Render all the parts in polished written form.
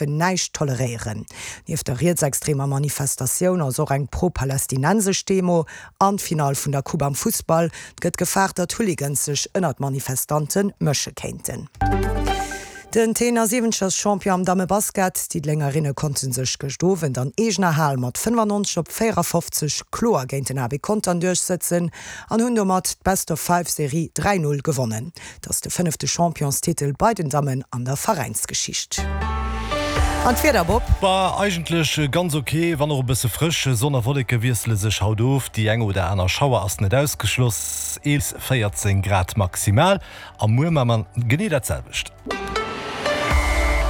Näischt toleréieren. Nieft der rietsextremer Manifestatioun ass och eng pro-palästinensesch Demo an d'Finall vun der Coupe am Fussball. Et gëtt gefaart, datt Hooligans sech ënner d'Manifestante mësche kéinten. Den Tenor Siwentgers Champion am Dammebasket. D'Diddelengerinne konnte sech gëscht Owend an eegener Hal mat 95 op 54 kloer géint den AB Contern duerchsëtzen an hunn domat d'Best-of-Five-Serie 3, 0 gewonnen. Et ass de fënnefte Championstitel bei den Dammen an der Veräinsgeschicht. An d'Wieder, Bob? Bah, eigentlech ganz ok, wann och e bësse frësch. Sonn a Wolleke wiessele sech haut of, déi eng oder aner Schauer ass net ausgeschloss. 11, 14 Grad maximal a muer ma mer genee dat selwecht.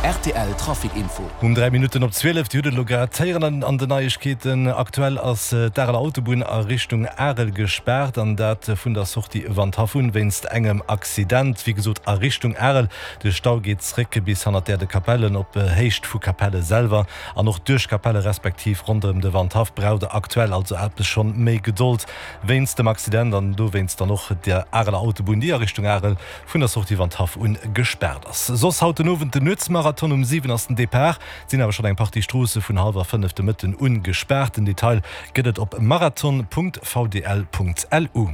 Rtl Trafic Info. Um 3 Minutten op 12, Dir hutt et elo grad héieren an den Neiegkeeten, aktuell ass d'Areler Autobunn a Richtung Arel gespaart an dat vun der Sortie Wandhaff un wéinst engem Accident. Wéi gesot a Richtung Arel. De Stau geet zréck bis hannert d'Aire de Capellen op Héicht vu Capelle selwer an och duerch Capelle respektiv ronderëm de Wandhaff braucht der aktuell also eppes schonn méi Gedold wéinst dem Accident an dowéinst dann och der Areler Autobunn déi a Richtung Arel vun der Sortie Wandhaff un gespaart ass. Soss haut den Owend den Nuetsmarathon, um 7 ass den Depart, et sinn awer schonn eng Partie Stroosse vun hallwer 5 de Mëtten un gespaart. Den Detail gëtt et op marathon.vdl.lu.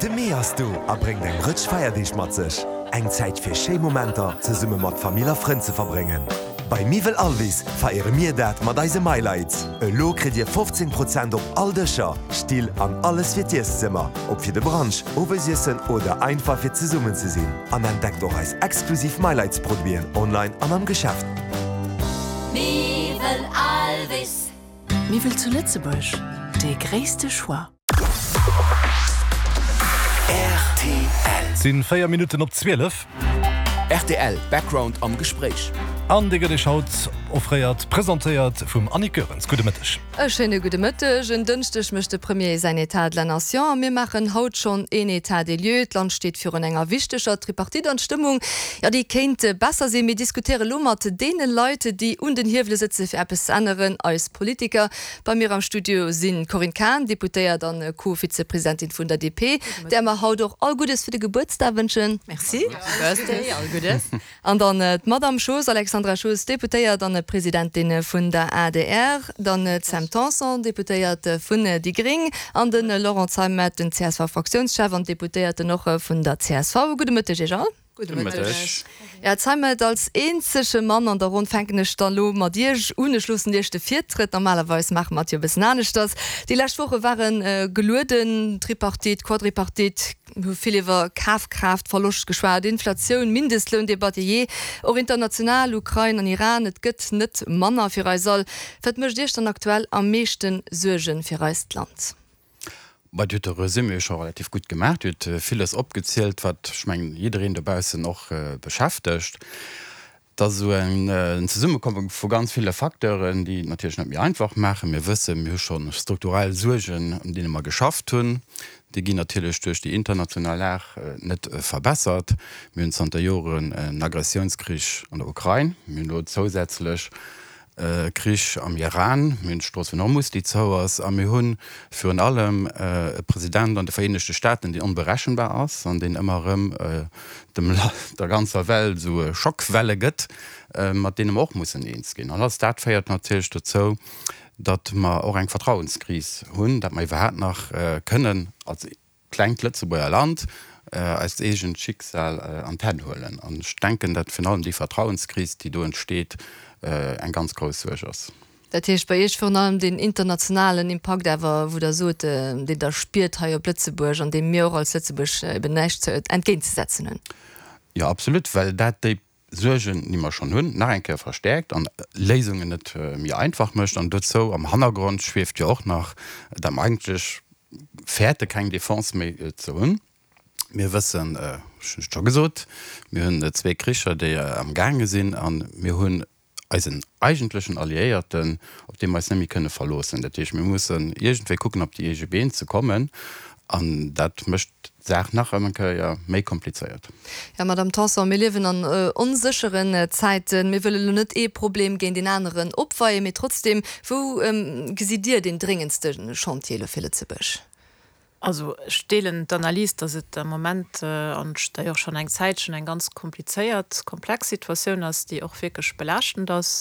De Mee ass do a bréngt eng Rëtsch Feierdeeg mat sech. Eng Zäit fir schéi Momenter zesumme mat Famill a Frënn ze verbréngen. Bei Miwwel Alvis feiere mir dat mat eise MyLights. Elo kritt Dir 15 Prozent op all Dëscher, Still an alles fir d'Ieszëmmer, ob fir de Brunch, Owesiessen oder einfach fir zesummen ze sinn. An entdeckt och eis exklusiv MyLights Produiten online an am Geschäft. Miwwel Alvis. Miwwel zu Lëtzebuerg, dee gréisste Choix. Rtl. Et sinn 4 Minutten op 12. Rtl Background am Gespréich. An dee gëtt Iech haut offréiert, presentéiert vum Annick Goerens. Gudde Mëtteg. E schéine gudde Mëtteg. En Dënschdeg mécht de Premier säin État de la Nation a mir maachen haut schonn een État des lieux. D'Land steet virun enger wichteger Tripartite an d'Stëmmung, jo déi kéint besser sinn. Mir diskutéiere lo mat deene Leit, déi un den Hiewele sëtze fir eppes ze änneren, eis Politiker. Bei mir am Studio sinn d'Corinne Cahen, Deputéiert an Co-Vizepresidentin vun der DP, där mer haut och all Guddes fir de Gebuertsdag wënschen. Merci. Happy Birthday, all Guddes. An dann d'Madamm Schoos, Alexandra Schoos, Deputéiert an Presidentin vun der adr, dann d'Sam Tanson, Deputéiert vun déi gréng, an de Laurent Zeimet, den CSV-Fraktiounschef an Deputéierten och vun der csv. Gudde Mëtteg Iech all. Gudde Mëtteg. Ja, Zeimet, als eenzege Mann an der Ronn fänken ech da lo mat Iech un. Ech loossen Iech de Virtrëtt. Normalerweis maache mer et jo e bëssen aneschters. Déi lescht Woche ware gelueden, Tripartite, Quadripartite, mir hu vill iwwer Kafkraaftverloscht geschwat, Inflatioun, Mindestloundebatt, jee, och international, Ukrain an Iran. Et gëtt net manner fir eis all. Wat mécht Iech dann aktuell am meeschte Suerge fir eist Land? Bah, Dir hutt de Resumé scho relativ gutt gemaach. Dir hutt villes opgezielt, wat, ech mengen, jiddereen dobaussen och beschäftegt. Et ass esou en Zesummekomme vu ganz ville Facteuren, déi et natierlech net méi einfach maachen. Mir wëssen, mir hu scho strukturell Suergen, un deene mer geschafft hunn. Déi ginn natierlech duerch déi international Lag net verbessert. Mir hunn zanter Joren en Agressiounskrich an der Ukrain. Mir hunn elo zousätzlech Krich am Iran, mir hunn d'Strooss vun Hormus, déi zou ass, a mir hu virun allem e President an de Vereenegte Staaten, deen onberechenbar ass an deen ëmmer erëm dem der ganzer Welt esou Schockwelle gëtt, mat deene mer och mussen eens ginn. An alles dat féiert natierlech dozou, datt mer och eng Vertrauenskris hunn, datt mer iwwerhaapt nach kënnen als klengt Lëtzebuerger Land eist eegent Schicksal an d'Hänn huelen. An ech denken, datt virun allem déi Vertrauenskris, déi do entsteet, eng ganz grouss Suerg ass. Dat heescht bei Iech virun allem deen internationalen Impakt awer, wou Der sot, deen Der spiert hei op Lëtzebuerg an deem mir och als Lëtzebuerg eben näischt entgéintzesetzen hunn. Jo, absolut, well dat déi Suergen, déi mer schonn hunn, nach eng Kéier verstäerkt an Léisungen net méi einfach mécht. An dozou am Hannergrond schwieft jo och nach, datt mer eigentlech fäerte keng Defense méi ze hunn. Mir wëssen, ech hunn et scho gesot, mir hunn zwee Kricher, déi am gaange sinn a mir hunn eisen eigentlechen Alliéierten, op dee mer eis net méi kënne verloossen. Dat heescht, mir mussen iergendwéi kucken, op déi eege Been ze kommen an dat mécht d'Saach nach eng Kéier méi komplizéiert. Jo, Madamm Tanson, mir liewen an onsécheren Zäiten. Mir wëlle lo net ee Problem géint een aneren opweien, mee trotzdem, wou gesitt Dir deen dréngendste Chantier elo fir Lëtzebuerg? Also ech deelen d'Analys, datt et am Moment, an d'ailleurs schonn eng Zäitchen, eng ganz komplizéiert, komplex Situatioun ass, déi och wierklech belaaschtend ass.